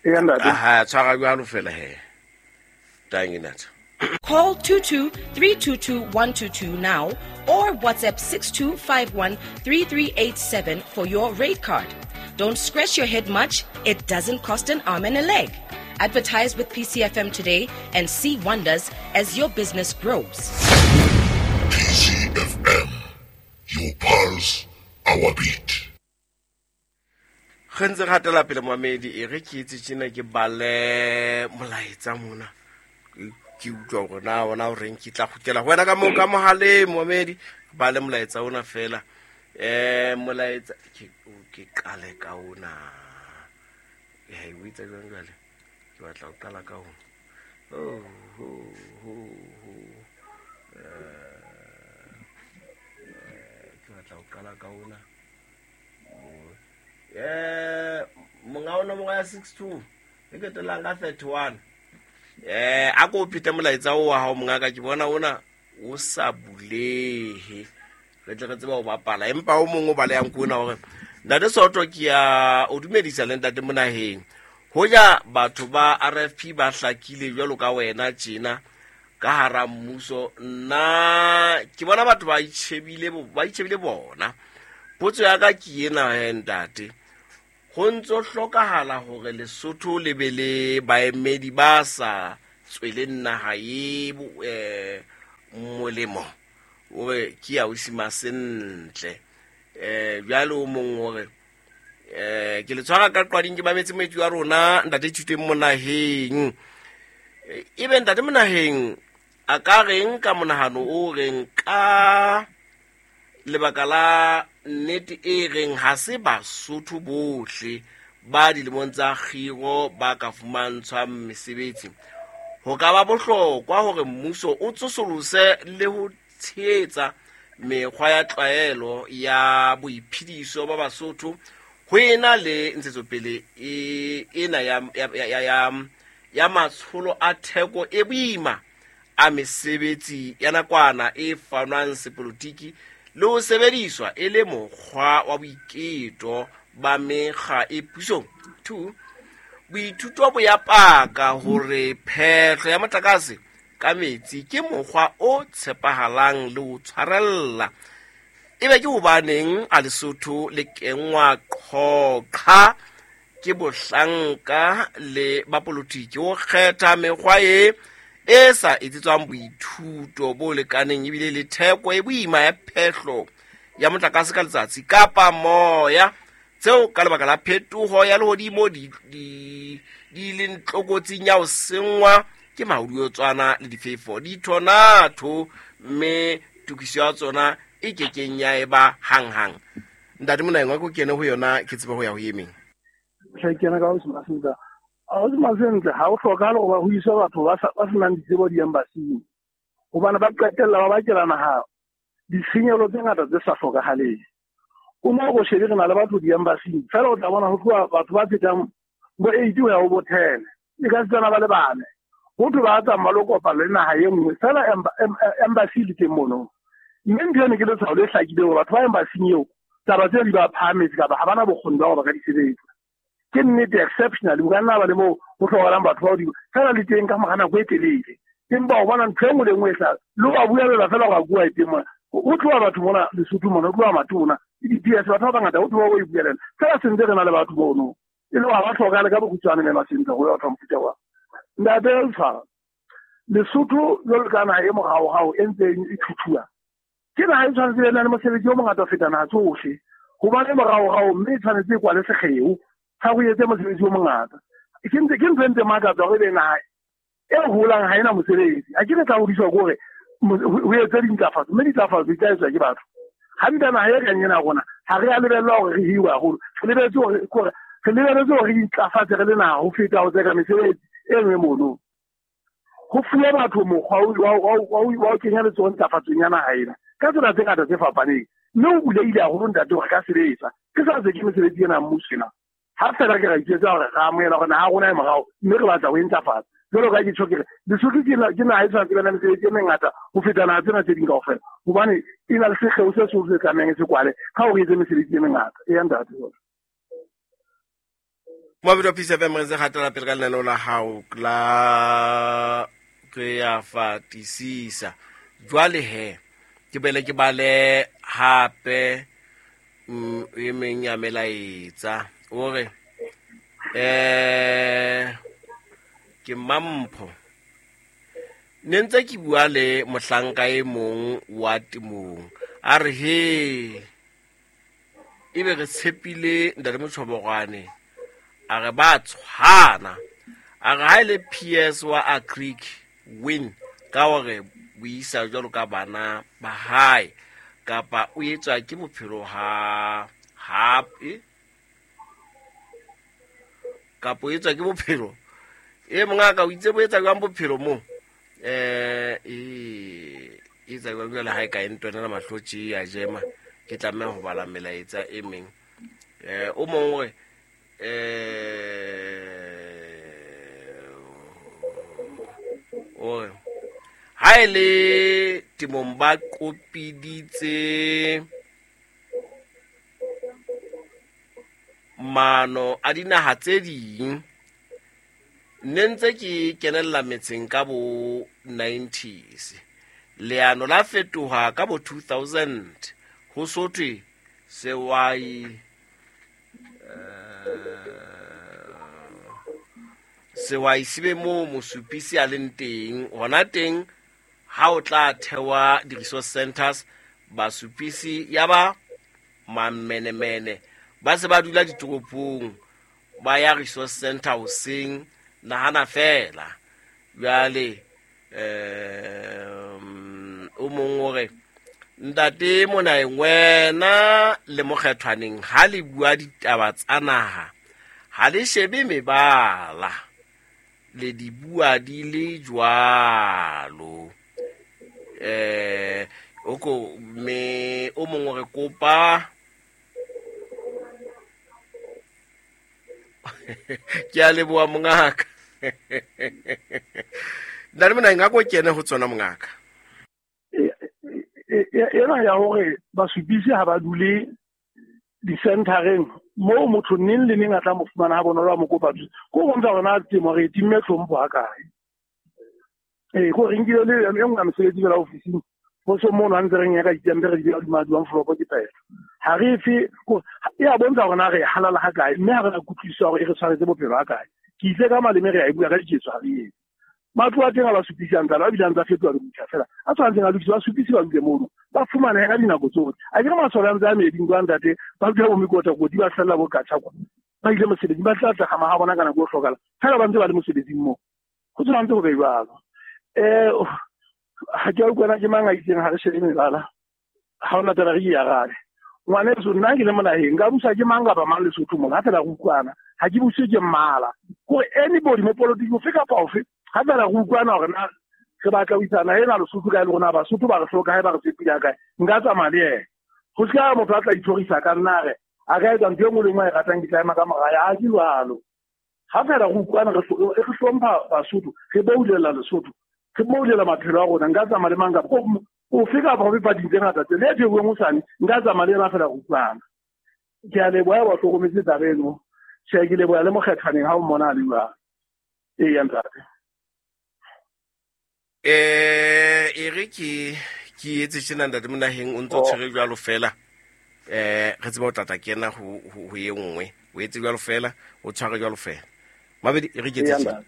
Eya ntate. Aha, tshwara jwalo fela he. Tangi nata. Call 22 322 122 now or WhatsApp 6251 3387 for your rate card. Don't scratch your head much, it doesn't cost an arm and a leg. Advertise with PCFM today and see wonders as your business grows. PCFM, your pulse, our beat. Ge ntse gatela pele moamedi e re ke itse tšena ke bale molaetsa mona ke utlwa gore na ona o reng ke tla gutela go wena ka mo ka mogaleng moamedi bale molaetsa ona fela um molaetsa ke qale ka ona e o itse jang jale ke batla go qala ka ona. Oh, oh, oh, oh. Ke batla go qala ka ona. Monga ona monga ya 62 e ketelang ka 31. A ko phete molaetsa o wa hao mongaka, ke bona ona o sa bulehe re tle re tseba ho bapala, empa o mongwe o balehang ke ona hore ntate Soto ke ya o dumedisa le ntate Monaheng. Hoja batho ba RFP ba hlakile jwalo ka wena tjena ka hara mmuso, nna ke bona batho ba itjhebile ba itjhebile bona. Potso ya ka ke ena he ntate, ho ntso hlokahala hore Lesotho le be le baemedi ba sa tsweleng naha e molemo, ore ke ya o sima sentle. Jwale o mong hore ke le tshwara ka qwading ke mametse moetsi wa rona ntate Thuteng Monaheng. Ebe ntate Monaheng a ka reng ka monahano o reng ka lebaka la nnete e reng ha se Basotho bohle ba dilemong tsa kgiro ba ka fumantshwang mesebetsi. Ho ka ba bohlokwa hore mmuso o tsosolose le ho tshehetsa mekgwa ya tlwaelo ya boiphediso ba Basotho ho ena le ntshetsopele ena ya matsholo a theko e boima a mesebetsi ya nakwana e fanwang sepolotiki le ho sebediswa e le mokgwa wa boiketo ba mekga e pusong. 2, boithuto bo ya paka hore phehlo ya motlakase ka metsi ke mokgwa o tshepahalang le ho tshwarella. Ebe ke hobaneng a Lesotho le kenngwa qhoqha ke bohlanka le ba politiki ho kgetha mekgwa e sa etsetswang boithuto bo lekaneng ebile le theko e boima ya phehlo ya motlakase ka letsatsi kapa moya, tseo ka lebaka la phetoho ya lehodimo di leng tlokotsing ya ho senngwa ke mahodiotswana le difefo dithonatho, mme tokiso ya tsona e kekeng ya eba hanghang. Ntate Monaheng, wa ko kene ho yona ke tsebe ho ya ho emeng. Hle kena ka ho se masentle. Ha o se masentle, ha o hlokahale hore ho iswe batho ba senang ditsebo di-embassy-ing, hobane ba qetella ba bakela naha ditshenyehelo tse ngata tse sa hlokahaleng. O mo go shebe re na le batho di-embassy-ing, fela o tla bona ho tloha batho ba fetang bo 8 ho ya ho bo 10, e ka setsana ba le bane. Ho thwe ba tsamaya lo kopana le naha e nngwe, fela embassy le teng mono. Mme ntho eno ke letshwao le hlakileng hore batho ba embassy-ing eo taba tseo di ba phahametse kapa ha bana bokgoni ba hore ba ka di sebetsa. Ke nnete exceptional, o ka nna ba le moo ho hlokahalang batho ba hodimo, fela le teng ka mora nako e telele. Empa o bona ntho e nngwe le nngwe e hlaha, le ho ba buella fela hore a bua e teng mona. Ho tloha batho mona Lesotho mona, ho tloha matona, le di-PS, batho ba bangata ho tloha o e buelela. Fela se ntse re na le batho mono, e le hore ha ba hlokahale ka bokgutshwane mme masentle ho ya batho ba mofuta wa. Ntate Letshwara, Lesotho jwalo ka naha e moraorao e ntseng e thuthuha, ke naha e tshwanetse e na le mosebetsi o mongata ho feta naha tsohle, hobane moraorao mme e tshwanetse e kwale sekgeo sa ho etse mosebetsi o mongata. Ke ntse ke ntho e ntse makatsa hore ebe naha e holang ha ena mosebetsi. A ke re tla hodiswa ke hore ho etse dintlafatso, mme dintlafatso di tla etswa ke batho. Hantle naha e kang ena ya rona, ha re a lebellwa hore re hiwe haholo. Re lebelletse hore ke hore re lebelletse hore re intlafatse re le naha ho feta ho tseka mesebetsi e nngwe mono. Ho fuwe batho mokgwa wa ho kenya letsoho ntlafatsong ya naha ena ka tsela tse ngata tse fapaneng, mme o bulehile haholo ntate hore ka sebetsa. Ke sa tseke mesebetsi ena mmuso ena. Ha fela ke ra itjwetsa hore re amohela hore naha ya rona e morao, mme re batla ho e ntlafatsa. Jwalo ka ke tjho ke re Lesotho ke naha e tshwanetse e be na mesebetsi e mengata ho feta naha tsena tse ding kaofela, hobane e na le sekgeo se seholo se tlamehang e se kwale ka hore e etse mesebetsi e mengata. Eya ntate. Moabedi wa Peace FM, re ntse gatela pele ka lenaneo la gago la Re ya Fatisisa. Jwale he, ke bele ke bale hape e meng ya melaetsa. O re, ke Mampho. Ne ntse ke bua le mohlanka e mong wa temong. A re he, ebe re tshepile ntate Motjhobogwane. A re ba tshwana. A re ha e le PS wa Agric win ka hore buisa jwalo ka bana ba hae kapa o etswa ke bophelo ha hape kapa o etswa ke bophelo e mongaka o itse bo etsa jwang bophelo mo e etsa jwang jwale ha e ka e ntwenela mahlo tje ya jema ke tlameha ho bala melaetsa e meng. O mong o re o re ha e le temong ba qopiditse mano a dinaha tse ding. Ne ntse ke kenella metseng ka bo 90s. Leano la fetoha ka bo 2000 ho sothwe sewai sewai se be moo mosupisi a leng teng. Hona teng ha o tla thewa di-resource centers, basupisi ya ba mamenemene ba se ba dula ditoropong, ba ya resource center hoseng, nahana fela. Jwale o mong o re ntate Monaheng, wena le Mokgethwaneng ha le bua ditaba tsa naha ha le shebe mebala, le di bua di le jwalo. O ko me o mong o re kopa ke a leboha mongaka. Ntate Monaheng, a ko kene ho tsona mongaka. Ena ya hore basupisi ha ba dule di-centereng moo motho neng le neng a tla mo fumana ha bonolo a mo kopa thuso. Ko ho bontsha hore na temo re e timme tlhompho ha kae. Ko re nkile le e nngwe ya mesebetsi fela ofising, ho so mono ha ntse re nyaka dipampiri re di beha hodima di-envelope ke phetho. Ha re efe, e a bontsha hore na re halala ha kae, mme ha re na kutlwisiso ya hore e re tshwaretse bophelo ha kae. Ke itse ka maleme re a e bua ka diketso ha re etse. Matlo a teng a ba supisi a ntse a bile a ntse a fetoha le botjha fela. A tshwanetseng a lokiswe, ba supisi ba dule mono, ba fumanehe ka dinako tsohle. A ke re masole a ntse a meeding kwa ntate, ba dula bo mekotakoti, ba fella bo katjha kwa. Ba ile mosebetsing, ba tla tla ha bona ka nako e hlokahala. Fela ba ntse ba le mosebetsing moo. Ho tshwanetse ho be jwalo. Ha ke a utlwana ke mang a itseng ha re shebe mebala. Ha hona taba re ke arabe. Ngwaneso, nna ke le Monaheng, nka busa ke mang kapa mang Lesotho mona, ha fela re utlwana. Ha ke buswe ke mmala. Kore anybody mo politiking ofe kapa ofe, ha fela re utlwana hore na re batla ho isa naha ena Lesotho kae le rona Basotho ba re hloka hae, ba re tshepile ha kae, nka tsamaya le yena. Ho se ka motho a tla ithorisa ka nna a re a ka etsa ntho e nngwe le nngwe a e ratang, ke tla ema ka mora ya. Ha ke jwalo. Ha fela re utlwana, re hlompha Basotho, re boulela Lesotho, re boulela maphelo a rona, nka tsamaya le mang kapa ofe kapa ofe pating tse ngata tse le e theuweng hosane, nka tsamaya le yena fela re utlwana. Ke a leboha ba hlokometse taba eno. Tjhe, ke leboha le Mokgethwaneng ha o mmona a le jwalo. Eya ntate. E re ke etse tjena ntate Monaheng, o ntso tshwere jwalo fela. Re tseba o tla kena ho e nngwe. O etse jwalo fela, o tshware jwalo fela. Mabedi, e re ke etse tjena.